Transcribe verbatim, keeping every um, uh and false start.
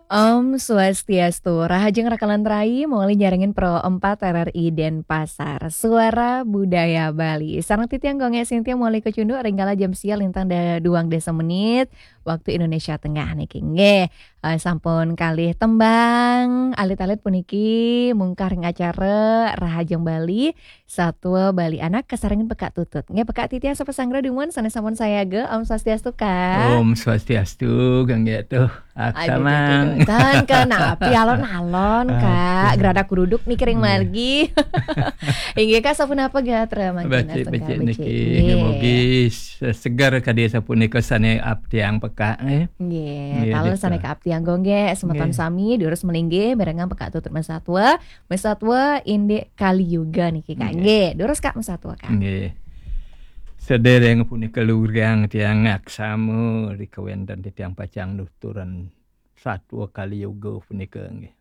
Om Swastiastu, rahajeng rakalan rai, muli nyarengin Pro empat R R I Denpasar, Suara Budaya Bali. Sareng titiang Gung Gek Sintia muli kacunduk ring kala jam sia lintang da-, duang dasa menit, waktu Indonesia Tengah niki. Nggih, eh, sampun kalih tembang alit-alit puniki mungkah ring acara Rahajeng Bali, Satua Bali Anak kasarengin Pekak Tutut. Nggih, Pekak titiang sapunapi dumun sané sampun sayaga. Om Swastiastu, Kak. Om Swastiastu, Gung Gek tuh. Aduh, aduh, Aksamang. Aduh, aduh. Tan kenapi alon-alon, Kak. Aduh. Gradak gruduk niki ring margi. Inggih, Kak, sapunapa gatra mangkin? Becik, astungkara becik becik. Niki. Nggih. Mugi se-, seger kadi sapunika sané kaaptiang Pekak, eh. Nggih, nggih, taler gitu. Sané kaaptiang Gung Gek, semeton sami durus malinggih mirengang Pekak Tutut Masatua. Masatua indik Kali Yuga niki, Kak. Nggih. Nggih, durus, Kak, masatua, Kak. Nggih. Sadéréng punika lugrayang tiang ngaksama ri kawéntenan titiang pacang nuturan satua Kali Yuga punika, nggih.